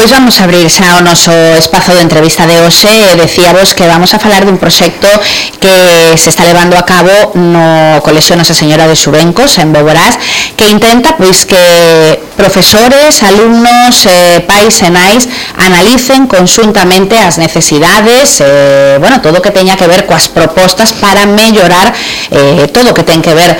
Pois vamos a abrir xa o noso espazo de entrevista de hoxe. Decíamos que vamos a falar dun proxecto que se está levando a cabo no Colexio Nosa Señora de Xubencos, en Boborás, que intenta pois que profesores, alumnos, pais e nais analicen conxuntamente as necesidades, todo o que teña que ver coas propostas para mellorar todo o que ten que ver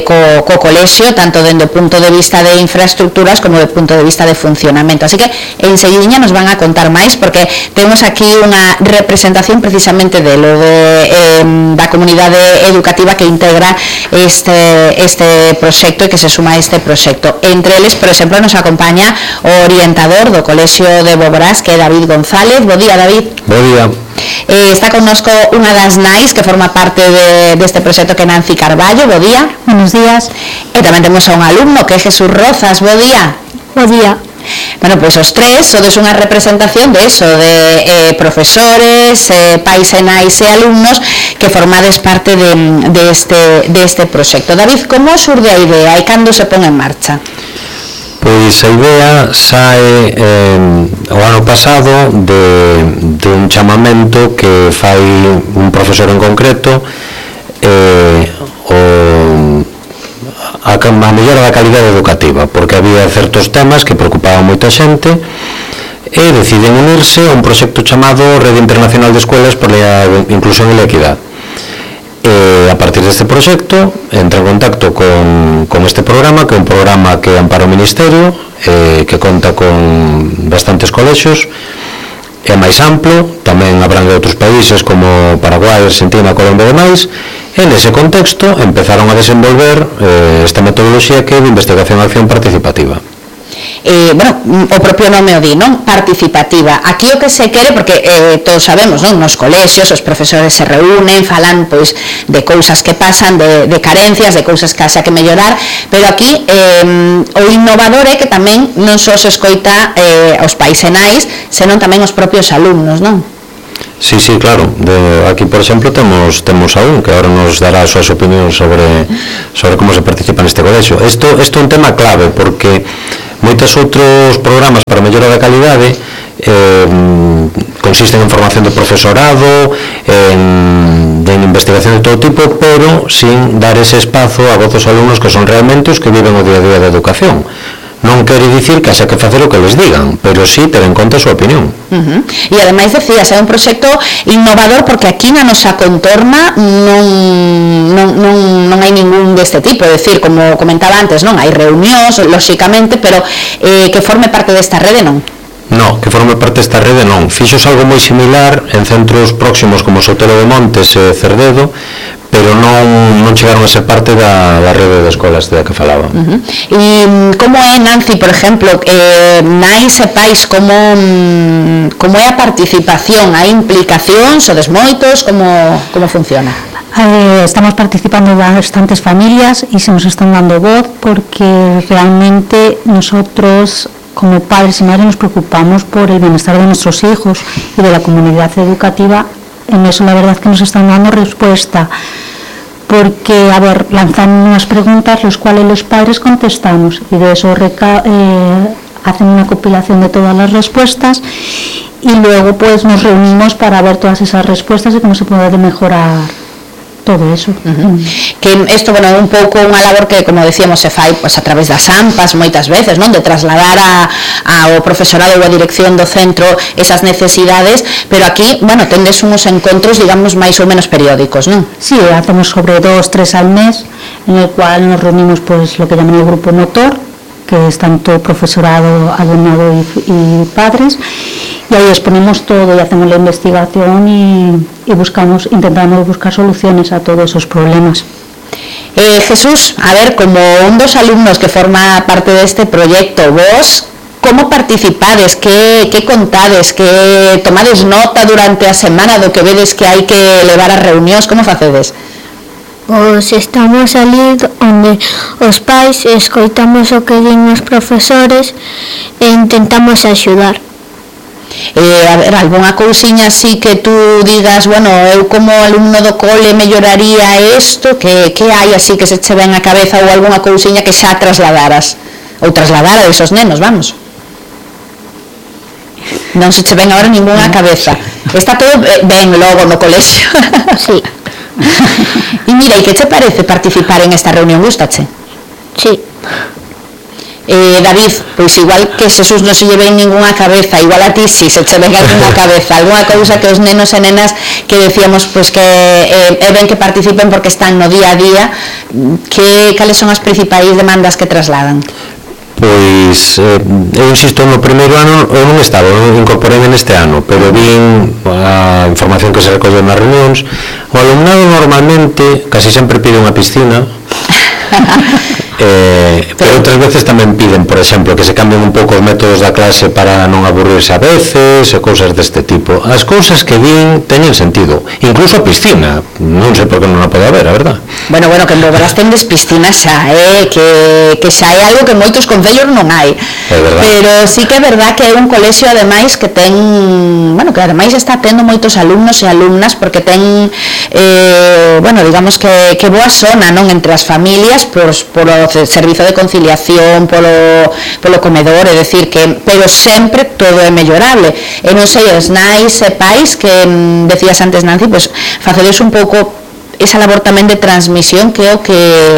co colexio, tanto dende o punto de vista de infraestructuras como do punto de vista de funcionamento. Así que enseguidiña nos van a contar máis, porque temos aquí unha representación precisamente da comunidade educativa que integra este proxecto e que se suma a este proxecto. Entre eles, por exemplo, nos acompaña o orientador do Colexio de Boborás, que é David González. Bo día, David. Bo día. Está connosco unha das nais que forma parte deste proxecto, que é Nancy Carballo. Bo día. Buenos días. E tamén temos a un alumno, que é Jesús Rozas. Bo día. Bo día. Bueno, pois os tres sodes unha representación de eso, de profesores, pais e nais e alumnos que formades parte deste proxecto. David, como xurde a idea e cando se pon en marcha? Pois a idea sae o ano pasado de un chamamento que fai un profesor en concreto a mellora da calidade educativa, porque había certos temas que preocupaban moita xente e deciden unirse a un proxecto chamado Rede Internacional de Escuelas por a Inclusión e a Equidad. A partir deste proxecto entra en contacto con este programa, que é un programa que ampara o Ministerio, que conta con bastantes colexios, é máis amplo, tamén abrangue outros países como Paraguai, Argentina, Colombia e demais. E nese contexto empezaron a desenvolver esta metodoloxía que é de investigación e acción participativa. O propio nome o di, non? Participativa. Aquí o que se quere, porque todos sabemos, non? Nos colexios os profesores se reúnen, falan pois de cousas que pasan, de carencias, de cousas que haxa que mellorar, pero aquí o innovador é que tamén non só se escoita aos pais e nais, senón tamén os propios alumnos, non? Sí, claro. Aquí, por exemplo, temos a un que agora nos dará as súas opinións sobre como se participa neste colexio. Isto é un tema clave, porque moitos outros programas para mellora da calidade consisten en formación de profesorado, en investigación de todo tipo, pero sin dar ese espazo a vozos alumnos que son realmente os que viven o día a día da educación. Non quere dicir que haxa que facer o que les digan, pero sí ter en conta a súa opinión. E ademais decías, é un proxecto innovador, porque aquí na nosa contorna non hai ningún deste tipo, é dicir, como comentaba antes, non hai reunións, lóxicamente, pero que forme parte desta rede non. No, que forme parte desta rede non. Fixos algo moi similar en centros próximos como Sotelo de Montes e Cerdedo, pero non chegaron a ser parte da rede de escolas da que falaba. E como é, Nancy, por exemplo, nais e pais, como é a participación, a implicación, sodes moitos, como funciona? Estamos participando bastantes familias y se nos están dando voz, porque realmente nosotros como padres y madres nos preocupamos por el bienestar de nuestros hijos y de la comunidad educativa. En eso la verdad que nos están dando respuesta, porque, lanzan unas preguntas las cuales los padres contestamos, y de eso hacen una compilación de todas las respuestas, y luego pues nos reunimos para ver todas esas respuestas y cómo se puede mejorar todo eso. Que isto, é un pouco unha labor que, como decíamos, se fai a través das AMPAs moitas veces, non? De trasladar ao profesorado ou a dirección do centro esas necesidades, pero aquí, tendes uns encontros, digamos, máis ou menos periódicos, non? Sí, hacemos sobre 2-3 al mes, en el cual nos reunimos lo que llaman el grupo motor, que es tanto profesorado, alumnado y padres, y ahí exponemos todo y hacemos la investigación y intentamos buscar soluciones a todos esos problemas. Jesús, a ver, como un dos alumnos que forma parte deste proxecto, vos como participades, que contades, que tomades nota durante a semana do que vedes que hai que levar as reunións, como facedes? Pois estamos ali onde os pais escoitamos o que din os profesores e intentamos axudar. A ver, algunha cousiña así que tú digas, eu como alumno do cole melloraría isto, que hai así que se che ven a cabeza, ou algunha cousiña que xa trasladaras, ou trasladara esos nenos, vamos? Non se che ven agora ninguna á cabeza. Está todo ben logo no colexio. Sí. E mira, e que che parece participar en esta reunión? Gústache? Sí. David, pois igual que Jesús non se lle ven ninguna cabeza, igual a ti si se che ven alguna cabeza, alguna cousa que os nenos e nenas que decíamos pois que é ben que participen porque están no día a día, cales son as principais demandas que trasladan? Pois, eu insisto, no primeiro ano eu non estaba, non incorporei neste ano, pero vin a información que se recolle nas reunións. O alumnado normalmente casi sempre pide unha piscina, pero outras veces tamén piden, por exemplo, que se cambien un pouco os métodos da clase para non aburrirse a veces e cousas deste tipo. As cousas que din teñen sentido, incluso a piscina, non sei por que non a pode haber, a verdad. Bueno, que en Boborás tendes piscina xa, que xa é algo que en moitos concellos non hai. Pero sí que é verdad que é un colexio ademais que ten, bueno, que ademais está tendo moitos alumnos e alumnas porque ten, bueno, digamos que boa zona, non, entre as familias, polo servizo de conciliación, polo comedor, é dicir que, pero sempre todo é mellorable. E non sei, os nais e pais que decías antes, Nancy, pues facedes un pouco esa labor tamén de transmisión que é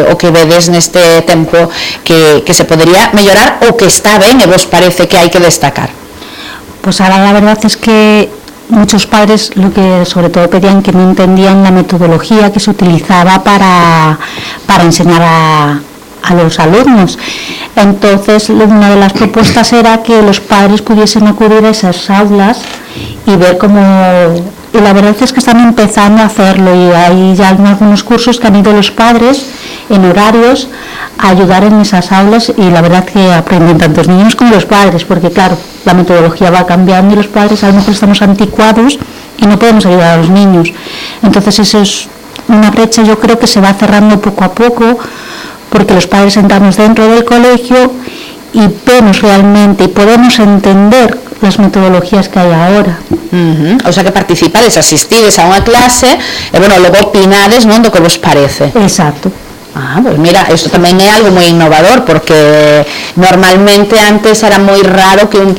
o que vedes neste tempo que se podería mellorar ou que está ben e vos parece que hai que destacar. Pues ahora la verdad es que muchos padres lo que sobre todo pedían que no entendían la metodología que se utilizaba para enseñar a los alumnos. Entonces una de las propuestas era que los padres pudiesen acudir a esas aulas y ver cómo, y la verdad es que están empezando a hacerlo y hay ya algunos cursos que han ido los padres en horarios a ayudar en esas aulas y la verdad que aprenden tanto los niños como los padres, porque claro, la metodología va cambiando y los padres a lo mejor estamos anticuados y no podemos ayudar a los niños. Entonces eso es una brecha, yo creo que se va cerrando poco a poco, porque los padres entramos dentro del colegio y vemos realmente y podemos entender las metodologías que hai agora. O sea que participades, asistides a unha clase e, bueno, logo opinades, non, do que vos parece. Exacto. Pues mira, esto tamén é algo moi innovador porque normalmente antes era moi raro que un